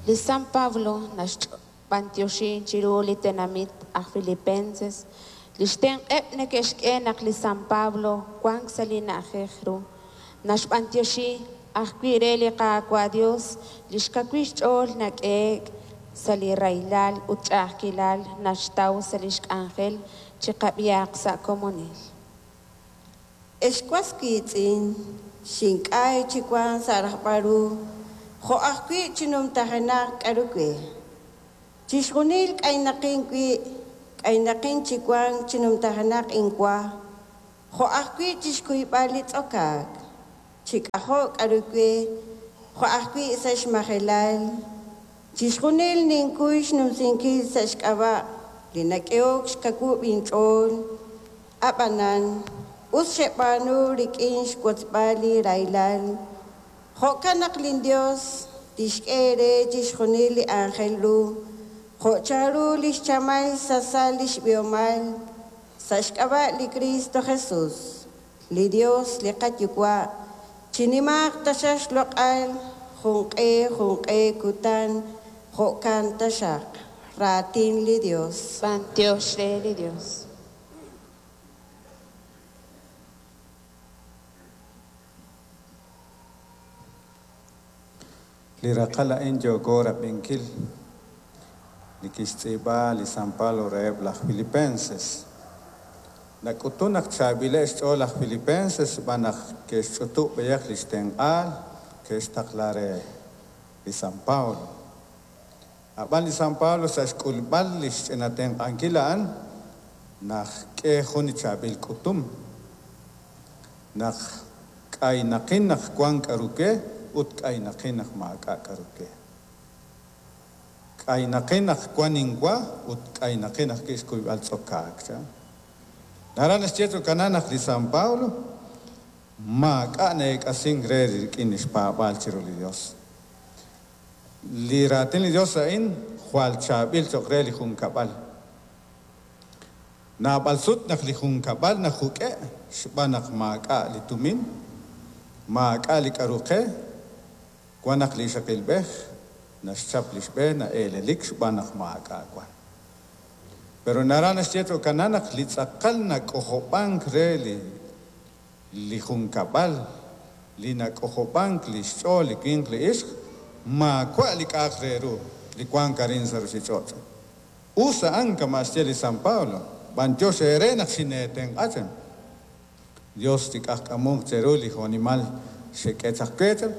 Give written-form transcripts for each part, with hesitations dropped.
Li San Pablo naxb'antioxin chiru li tenamit aj Filipenses li xtenq'eb' neke'xk'e naq li San Pablo wank sa' li na'ajej ru. Naxb'antioxi ajwi' re li Qaawa' Dios li xkawil xch'ool nak'ehe'k sa' li rahilal ut ch'a'ajkilal naxtaw sa' li xk'anjel chiqab'ihaq sa' komonil. Ex was wiitz'in, xink'ay chi wank sa' rajb'al ru jo' ajwi' chi numtajenaq k'aru we. Chixjunil k'aynaqin wi', k'aynaqin chi wank chi numtajenaq inwa, jo' ajwi' chi xkuyb'al li tz'okaak, chi k'ajo' k'aru we, jo' ajwi' sa' xmajelal. Chixjunil ninkuy xnumsinkil sa' xk'ab'a' li nak'ehok xkawub' inch'ool. Ab'anan, us xeb'aanu rik'in xwotzb'al li rahilal. Jo'kan naq linYos tixk'e eere chixjunil li aajel ru, jo' chanru li xchamal xsasal li xb'ihomal, sa' xk'ab'a' li Kristo Jesus. Li Yos li qaYuwa' chinimaaq taxaq xloq'al junq'e junq'e kutan. Jo'kan taxaq. Raatin li Yos. B'antiox re li Dios. Li raqal a'in yooko rab'inkil li kixtz'iib'a li San Pablo reheb' laj Filipenses. Nak'utun naq chaab'ileb' xch'ool laj Filipenses xb'aan naq ke'xch'utub' b'ayaq li xtenq'aal ke'xtaqla re li San Pablo. Ab'an li San Pablo sa' xk'ulb'al li xch'ina tenq'ankil a'an naxk'e jun li chaab'il k'utum. Naq k'aynaqin naq wank k'aru we ut k'aynaqin naq maak'a' k'aru we. K'aynaqin naq wank inwa ut k'aynaqin ajwi' xkuyb'al tz'okaak, chan. Naraj naxye tz'okanan naq li San Pablo maak'a' na'eek'asink re rik'in li xpaab'aal chiru li Yos. Li raatin li Yos a'in jwal chaab'il cho'q re li junkab'al. Naab'al sut naq li junkab'al najuk'e' xb'aan naq maak'a' li tumin, maak'a' li k'aru qe, wan naq li ixaqilb'ej naxchap li xb'e na'eelelik xb'aan naq maak'a' wan. Pero naraj naxye tz'okanan naq li tz'aqal nak'ojob'ank re li li junkab'al, li nak'ojob'ank li xch'ool li winq li ixq, maawa' li k'a'aq re ru li wank arin sa' ruuchich'och'. Us a'an kama' xye li San Pablo, b'antiox eere naq xineetenq'a chan. Dios chik'ajk'amunq cheru li jo'nimal xek'e chaq we chan,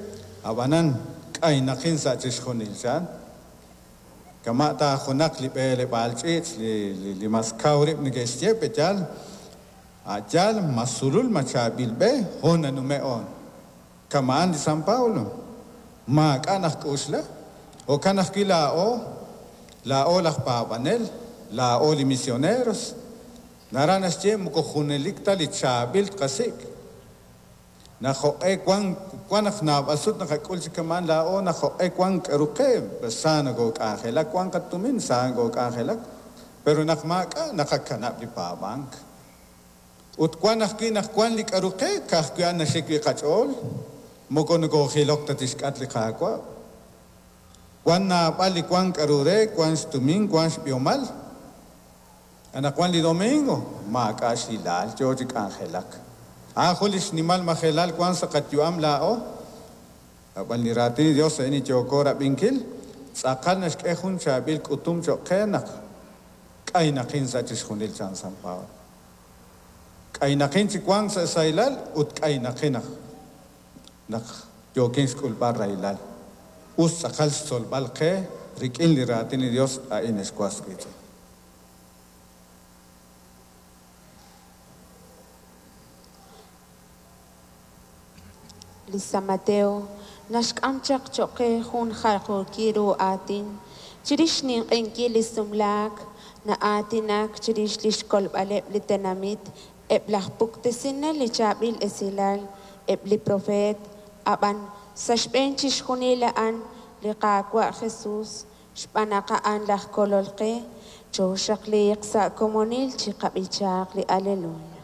ab'anan k'aynaqin sa' chixjunil chan. Kama' ta junaq li b'eleb'aal ch'iich' li li mas kaw rib' neke'xye pe yaal, a' yaal ma sulul ma chaab'il b'e hoon nanume' oon. Kama'an li San Pablo, maak'a' najk'uxla, jo'kan ajwi' laa'o, laa'o laj paab'anel, laa'o li misioneros, naraj naxye moko junelik ta li chaab'il tqasik'. Naq jo'q'e wank, wan naq naab'al sut naqak'ul chi kama'an laa'o naq jo'q'e wank k'aru qe, sa nokook'anjelak, wank qatumin, sa nokook'anjelak, pero naq maak'a' naqakanab' li paab'ank. Ut wan ajwi' naq wank li k'aru qe, ka'ajwi' a'an naxik wi' qach'ool, moko nokoojilok ta chixk'atq li Qaawa'. Wank naab'al li wank k'aru re, wank xtumin, wank xb'ihomal. Anaqwan li domingo, maak'a' xhilaal yo chi k'anjelak. A'an jun li xnimal majelal wank sa' qayu'am laa'o. Ab'an li Raatin li Yos a'in li yooko rab'inkil, tz'aqal naxk'e jun chaab'il k'utum cho'q qe naq k'aynaqin sa' chixjunil, chan San Pablo. K'aynaqin chi wank sa' sahilal ut k'aynaqin naq naq yookin xk'ulb'al rahilal. Us tz'aqal xtzolb'al qe rik'in li Raatin li Yos a'in, ex was wiitz'in. Li San Mateo naxk'am chaq cho'q qe jun jaljookil ru aatin chirix xninq'ehinkil li sumlaak, na'aatinak chirix li xkolb'aleb' li tenamit, eb' laj puktesinel li chaab'il esilal, eb' li propeet, ab'an sa' xb'een chixjunil a'an li Qaawa' Jesus, xb'aan naq a'an laj Kolol qe, chooxaqliiq sa' komonil chiqab'ichaaq li Aleluya.